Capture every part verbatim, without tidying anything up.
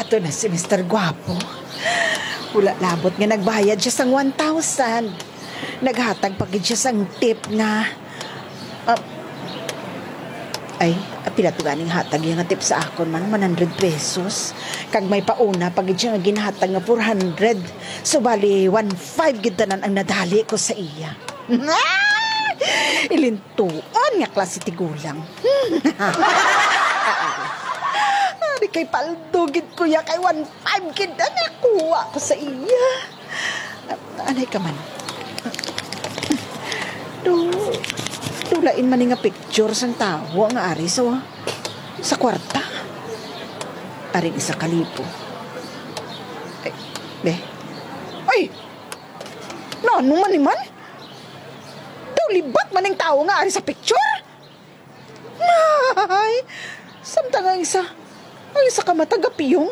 Ito na si Mister Guapo. Wala labot nga nagbayad siya sang one thousand. Naghatag pa gid siya sang tip nga, ah, ay, apila to ganing hatag iya nga tip sa akon man, one hundred pesos. Kag may pauna pa gid siya nga ginhatag nga four hundred. So, bali, one five gid tanan ang nadali ko sa iya. Ilintuan nga klase tigulang. Ari kay paldo gid ko ya kay one five gid ang nakuha ko sa iya. Anay ka man. Do, do lain man ni nga picture sang tawo nga ari sa, sa kwarta. Aring isa ka libo. Ay, be. Ay! Nano man ni man? Daw libat man ang tawo nga ari sa picture? Ay, samtang ang isa, ang isa ka mata gapiyong,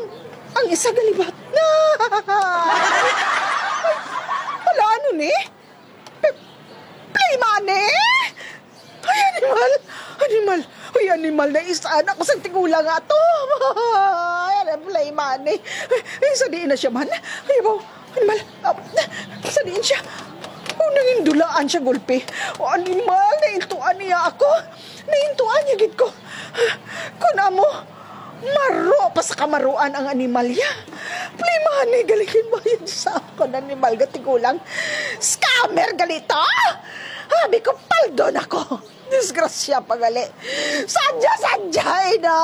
ang isa galibat. Ay, hala, ano ni? P-, play money? Ay, animal! Animal! Ay, animal, naisaan ako sa tigulang nga to! Ay, ano, play money? Ay, ay, sa diin na siya man? Ay, baw, animal! Ah, sa diin siya? Oh, nangindulaan siya gulpi. Oh, animal, naintuan niya ako. Naintuan niya gid ko. Kun amo, maro pa sa kamaruan ang animal ya. Play money, galing bayad sa akon animal nga tigulang. Scammer gali to! Abi ko, paldo na ko. Disgrasya pa gali. Sadya, sadya, ina!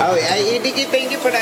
Oh, ay, hindi kita, hindi pa na